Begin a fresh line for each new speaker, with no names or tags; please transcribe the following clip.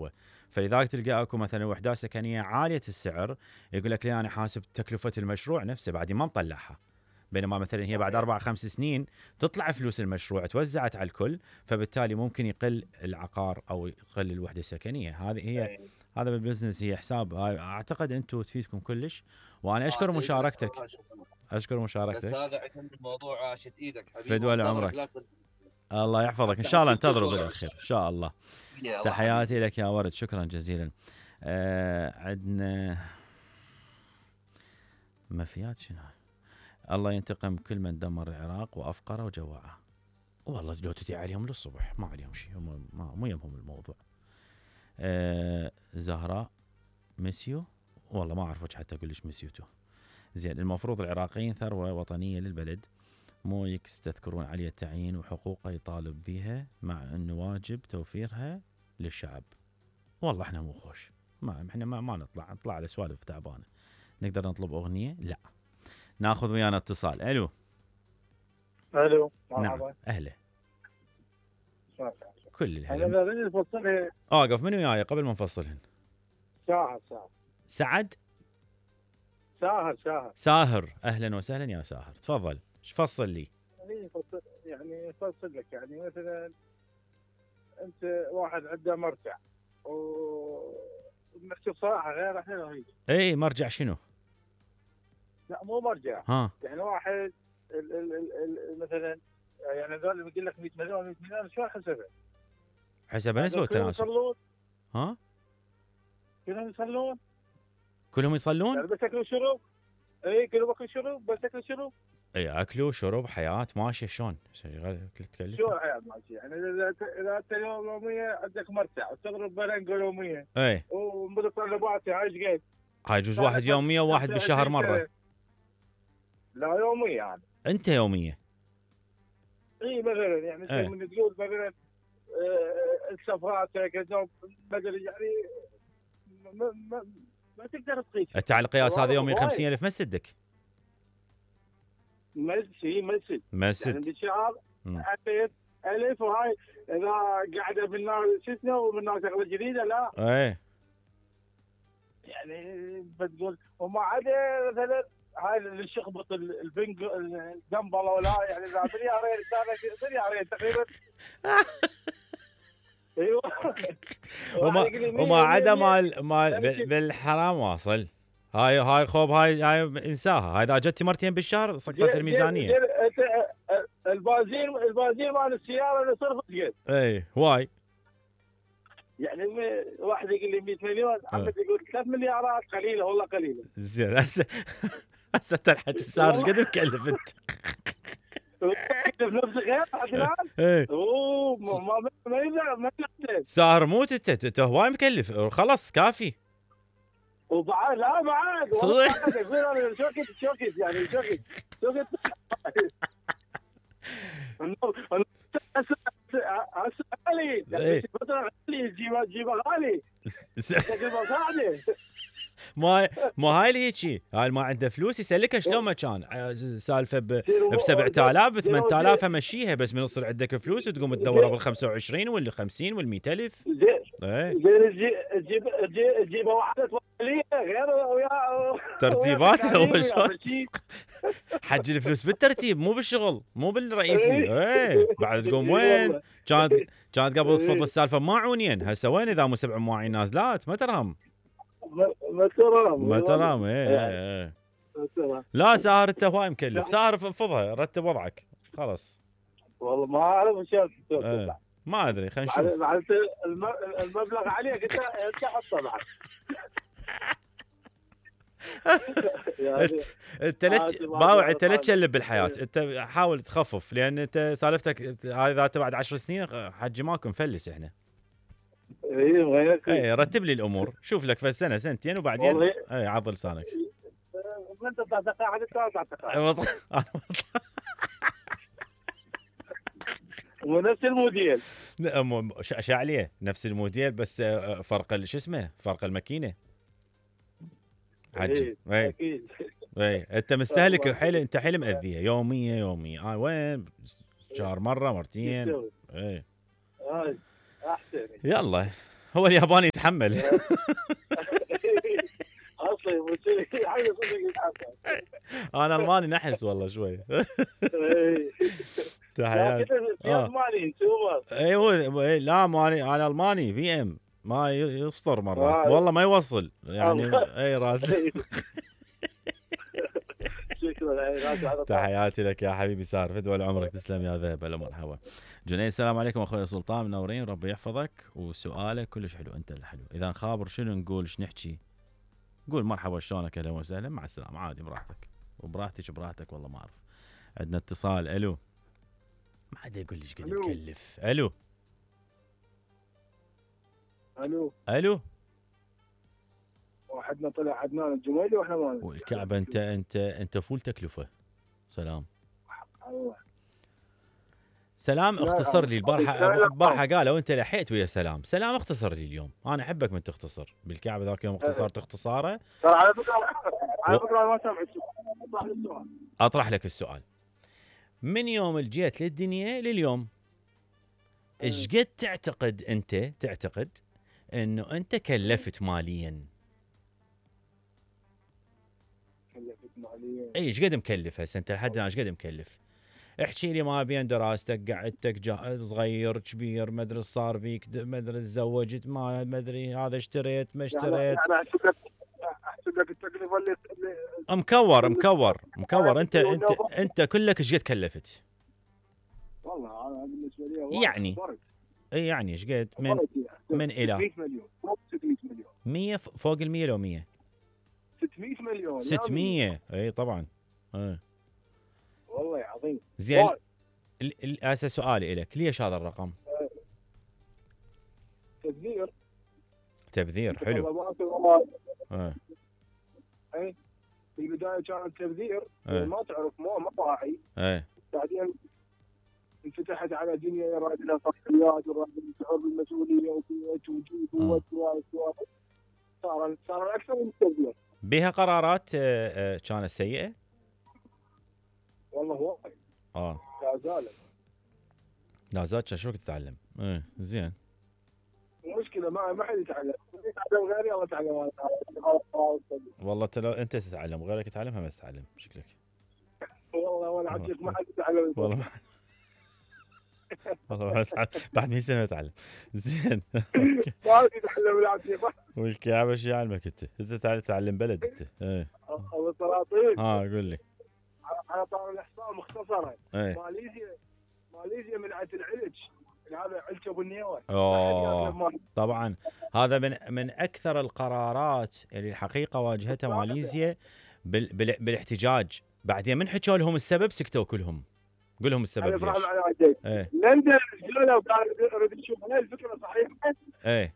هو. فلذلك تلقى اكو مثلا وحدات سكنيه عاليه السعر، يقول لك ليه انا حاسب تكلفه المشروع نفسه بعد ما مطلعها، بينما مثلا هي بعد 4-5 سنين تطلع فلوس المشروع توزعت على الكل، فبالتالي ممكن يقل العقار او يقل الوحده السكنيه. هذه هي، هذا بالبزنس هي حساب. اعتقد انتم تفيدكم كلش، وانا اشكر مشاركتك. اشكر مشاركتك.
بس هذا عشان الموضوع عاشت ايدك حبيبي.
فدوى عمرك. الله يحفظك، ان شاء الله انتظروا بالاخير ان شاء الله. تحياتي لك يا ورد، شكرا جزيلا. عندنا مفيات شنو؟ الله ينتقم كل من دمر العراق وافقره وجوعه. والله لو تدعي عليهم للصبح ما عليهم شيء، هم مو يهمهم الموضوع. زهراء مسيو، والله ما اعرف حتى اقول ليش مسيوتو. زين، المفروض العراقيين ثروه وطنيه للبلد، مو يستذكرون عليه التعيين وحقوقه يطالب بها، مع انه واجب توفيرها للشعب. والله احنا مو خوش، ما احنا ما نطلع على سوالف تعبانه. نقدر نطلب اغنيه؟ لا. ناخذ ويانا اتصال. الو.
مرحبا.
نعم اهلا. كل الهلا.
انا بدي افصلها.
اوقف من وياي قبل ما نفصلهن. سعد. ساهر، اهلا وسهلا يا ساهر، تفضل. ايش فصل لي؟
يعني افصل لك، يعني مثلا انت واحد عنده مرجع ومكتوب صراحه غير احنا رهيب.
اي مرجع شنو؟
لا مو مرجع. يعني واحد مثلا، يعني هذول اللي بيقول لك 100 مليون 100 مليون شو حسبه؟
حسب نسبه وتناسب. ها؟ كلهم يصلون؟
يعني بس اكلوا شرب. اي كلهم اكل شرب، بس اكل شرب.
اي اكلوا شرب حياه ماشيه. شلون؟ تكلف
شو حياه ماشيه؟ يعني اذا انت يوميه عندك مرتع وتضرب بلنقه يوميه.
اي.
ومتطلباتي هاي قد؟
هاي يجوز واحد يوميه وواحد بالشهر مره.
لا يوميه يعني.
انت يوميه؟
اي مثلا يعني زي من تقول مثلا السفرات كذا مثلا، يعني ما تقدر تقيس.
انت على القياس هذا يومي 50,000 ما تسدك.
مسد يعني بالشهر 1000 وهاي اذا قاعده بالنار شو اسمه ومن شغله جديده. لا
ايه
يعني بتقول وما عدا مثلا هاي اللي شخبط البنج الدمبله ولا يعني اذا مليارين تقريبا. ايوه.
وما عدا مال بالحرام واصل. هاي خوب، هاي انساها. هاي اذا جتي مرتين بالشهر سقطت الميزانيه.
البازين مال السياره اللي صرفت قد.
اي هواي.
يعني واحد يقول لي 100 مليون، عمد يقول 3 مليارات قليله والله قليله.
زين هسه الحكي صار ايش قد مكلف انت؟
نفس غير عدنان. اوه ما
ساهر موت انت هواي مكلف، خلص كافي.
وبعد لا بعد
صدق
يقول شوكت يعني شوكت غالي يعني فترة غالي جيبه غالي
ما هاي اللي هيك. هاي ما عنده فلوس يسلكها شلون ما كان. سالفه ب 7000 ب 8000 امشيها، بس من يصير عندك فلوس وتقوم تدورها بال 25 واللي 50 وال 100,000.
زين تجيب واحده توكليه غير ويا
ترتيبات. حج الفلوس بالترتيب مو بالشغل مو بالرئيسي. ايه بعد تقوم وين كانت قبل تفضل السالفه ماعونين، هسه وين اذا مو 7 مواعين نازلات ما ترهم. ايه لا ساهر انت هواي مكلف. ساهر فضها رتب وضعك خلاص.
والله ما اعرف ايش
ما ادري خلينا نشوف.
المبلغ عليك انت حطه بعد.
انت باوع، انت لا تشلب بالحياه، انت حاول تخفف، لان انت سالفتك هذا بعد 10 سنين حجي ماكو مفلس احنا. اي رتب لي الامور، شوف لك في سنه سنتين وبعدين اي عض لسانك.
انت تعتقد ونفس الموديل
عليه نفس الموديل، بس فرق شو اسمه، فرق الماكينه حجي.
اكيد
اي انت مستهلك حيل، انت حيل مأذيه يوميه. وين شهر مره مرتين. اي
احسن.
يلا هو الياباني يتحمل.
اصلي مصير حاجه صدق يتحمل.
انا الماني نحس والله شوي. تحياتي.
في الماني سوبر.
ايوه لا ماني، انا الماني في ام ما يسطر مرات والله ما يوصل يعني. اي راسي.
شكرا.
تحياتي لك يا حبيبي سار، فدوى لعمرك، تسلم يا ذهب. هلا مرحبا. جنيد السلام عليكم اخوي سلطان، منورين، ربي يحفظك. وسؤالك كلش حلو، انت الحلو. اذا نخابر شنو نقول، ايش نحكي؟ قول مرحبا شلونك، اهلا وسهلا، مع السلامه، عادي براحتك وبراحتك والله ما اعرف. عندنا اتصال. الو. ما حدا يقول لي ايش قد مكلف. الو.
واحدنا طلع عدنان الجميلي واحنا ما
والكعبه انت فول تكلفه. سلام. سلام اختصر لي البارحه قالوا انت لحيت ويا سلام. سلام اختصر لي اليوم، انا احبك من تختصر بالكعبه. ذاك يوم اختصرت اختصاره.
ترى على فكره ما سمعت.
اطرح لك السؤال. من يوم جيت للدنيا لليوم ايش قد تعتقد انه انت كلفت ماليا؟ اي ايش قد مكلف هسه انت لحد الان؟ ايش قد مكلف؟ احكي لي ما بين دراستك، قعدتك صغير كبير، ما ادري صار فيك، ما ادري تزوجت، ما ادري هذا اشتريت ما اشتريت.
يعني احسب لك التكلفه اللي
مكور. انت كلك ايش قد كلفت؟
والله انا بالنسبه لي
يعني اي يعني ايش قد من الى
600 مليون. 600 مليون
100 فوق ال100 لو 100
600 مليون
600. اي طبعا.
والله عظيم.
زين هسه سؤالي لك، ليش هذا الرقم؟ تبذير حلو.
اي في البدايه كان التبذير ما تعرف ما واعي. بعدين انفتحت على دنيا يراد لها صحيات وراد الشعور بالمسؤوليه وبيت وجود وسوالف. صار اكثر من التبذير.
بها قرارات كانت سيئه؟
والله وايد.
لا زالت شو تتعلم. زين.
المشكله ما حد يتعلم غيري الله يتعلم.
والله انت تتعلم وغيرك يتعلمها ما تتعلم شكلك.
والله وانا عندك ما حد يتعلم.
والله ما تتعلم بعد 100 سنه يتعلم. زين.
ما يتعلم العافيه.
والكعبه شو يعلمك انت تتعلم بلد انت.
ابو السلاطين.
قول لي.
على طار الاحصاء مختصرا. ماليزيا منعت العلج، هذا علج ابو النيوه.
طبعا هذا من اكثر القرارات اللي الحقيقه واجهتها ماليزيا بالاحتجاج. بعدين من حكوا لهم السبب سكتوا كلهم. قول لهم السبب ليش.
لندن قالوا قاعد يريد يشوف هل الفكره صحيحه.